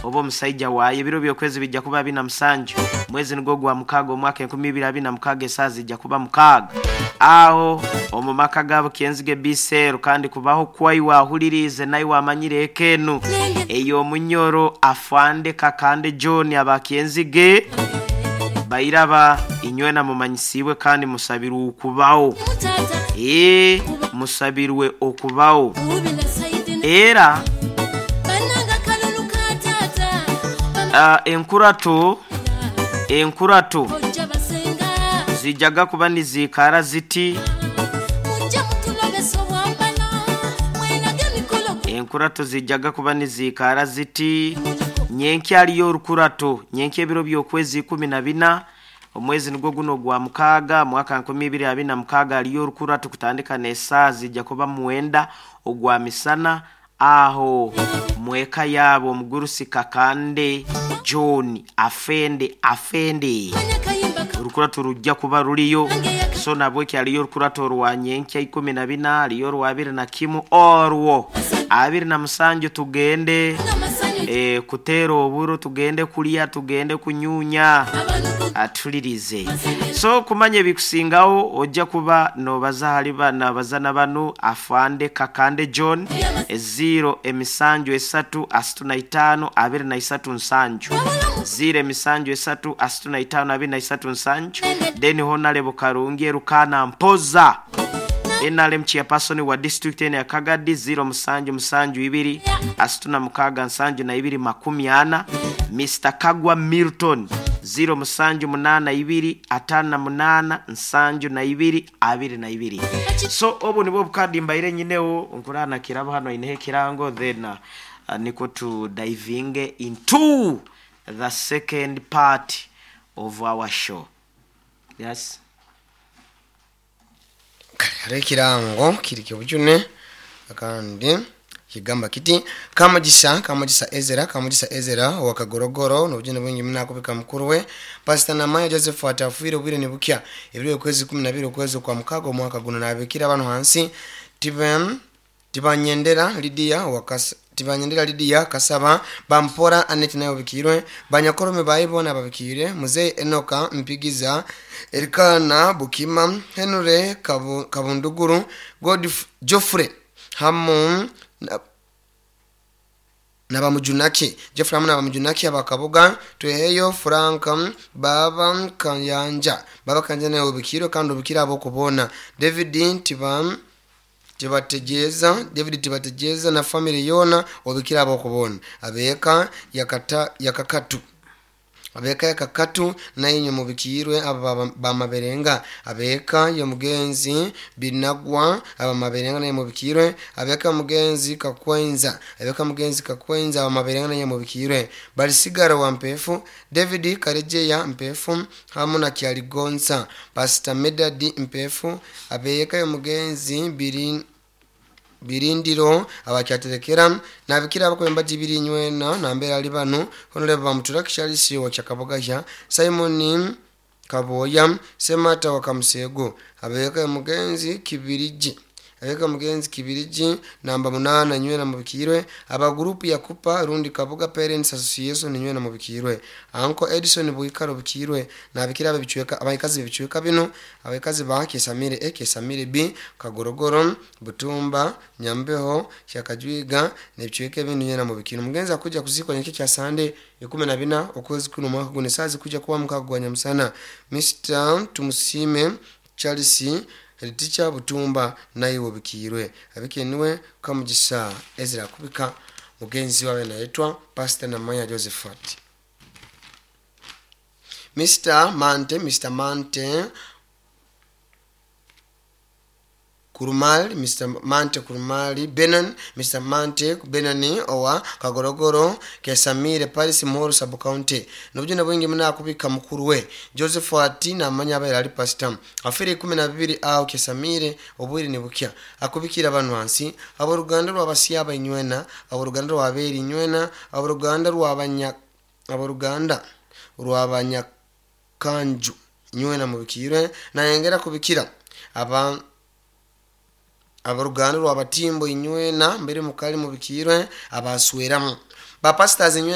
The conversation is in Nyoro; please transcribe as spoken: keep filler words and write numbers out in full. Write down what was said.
Oba omusaija waayo ebiro by'okwezi bijja kuba abiri na musanju, mwezi nigwo gwa mukaaga, omwaka enkumi ibiri abiri na mukaaga, esaaha zijja kuba mukaaga aho omu maka gaabo Kyenzige Biseero. Kandi kubaho kwaiwe ahuliriize naiwe amanyire eka enu ey'omunyoro Afande Kakande John aba Kyenzige bairaba inywena mumanyisiibwe kandi musabirwe okubaho. Ee, musabirwe okubaho era uh, enkurato enkurato zijaga kuba niziikara ziti. Enkurato zijaga kuba niziikara ziti. Nyenkya aliyo orukurato nyenkya ebiro by'okwezi ikumi na bina, omwezi nigwo guno gwa mukaaga, mwaka nkumi ibiri abiri na mukaaga, aliyo orukurato kutandika n'esaaha zijja kuba mwenda ogwa misana aho mweka yaabo omugurusi Kakande John afende afende orukurato rujja kuba ruliyo. So nabweki aliyo orukurato rwa nyenkya ikumi na bina, aliyo orwa abiri na kimu, orwo abiri na musanju tugende e, kutera oburo, tugende kulya, tugende kunyunya, atulirize. So kumanya ebikusingawo ojja kuba nobaza hali bana bazana banu Afande Kakande John ziro emisanju esatu asatu na itaano abiri na isatu nsanju, ziro emisanju esatu asatu na itaano abiri na isatu nsanju. Then Honorable Karungi Erukana Mpoza N R M chairperson wa district eno ya Kagadi ziro musanju musanju ibiri asatu na mukaaga nsanju na ibiri makumi ana. Mister Kagwa Milton ziro musanju munana ibiri atano na munana nsanju na ibiri abiri na ibiri. So obu nibwo bukadi mbaire nyinewo nkurana kirabo hano inehe kirango, then uh, niko to diving into the second part of our show. Yes. Kale ekirango kiri kibujune kandi kigamba kiti Kamugisa Kamugisa Ezera Kamugisa Ezera wa Kagorogoro n'obujune bwingi munakubika mukuru we Pastor Namaya Joseph atafuire obwire nibukya ebiro okwezi kumi na bibiri okwezi kwa mukaaga omwaka guno nabikira bano hansi tibem tibanyendera Lydia wakas tibanyendera Lydia Kasaba Bampora Anet nayo bikirwe Banyakorome bayibona babikire Muzee Enoka Mpigiza Erikana Bukima Henry Kabu, Kabunduguru Godf Joffrey hamu na, nabamujunaki Jeffrey hamu nabamujunaki abakabuga Tweheyo Frank Baba Kayanja Baba Kayanja nayo bikirwe kandi obikira abo kubona David Tibam tibategeeza David tibategeeza na family yona obikira abo kubona abeka yakata yakakatu abeka yakakatu nainyo mubikirwe aba bamaberenga abeka yo mugenzi binagwa aba maberenga naye mubikirwe abeka mugenzi kakwenza abeka mugenzi kakwenza aba maberenga naye mubikirwe balisigara wa mpefu David Karejeya mpefu hamu na Kyaligonza Pastor Medadi mpefu abeka yo mugenzi biri birindiro abakyaterekera nabikira abakwemba jibiri nywena nambera ali bano honorable bamutura kishalisi wa kyakabogahya Simon Kaboya Semata wa Kamusego abeka mugenzi kibiriji abeka mugenzi kibiriji namba munana nywena mubikirwe aba group ya kupa rundi Kabuga Parents Association nywena mubikirwe Uncle Edison Buikaro bikirwe nabikira ababichweka abayikazi bichweka bino abayikazi ba Kesamire A Kesamire B Kagorogoro Butumba Nyambeho Kyakajwiga nebichweka bino nywena mubikirwe mugenzi akuja kuzikwa nyeke kya Sunday ikumi na bina okwezi kuno mwaka gune sazi kuja kuwa mukagwanya musana Mister Tumusime Charles Teacher Butumba nayo bikirwe abikenwe Kamugisa Ezra kubika mugenzi wawe naitwa Pastor Namaya Josephat Mister Mante Mister Mante Kurumali Mister Mante Kurumali Benon Mister Mante Benoni owa Kagorogoro Kesamire Paris Moro Sub County nobujuna bwingi muna kubika mukuru we Joseph ati namanya abaira ali pastor afire ikumi na bibiri aho Kesamire obwire nibukya akubikira abantu hansi abo ruganda rwabasiyaba inywena abo ruganda rwaberi inywena abo ruganda rwabanya abo ruganda rwabanya kanju inywena mubikirwe nayengera kubikira aba abaruganda rwabatimbo inywena mbere mukali mubikirwe abasweramu ba pastors inywena.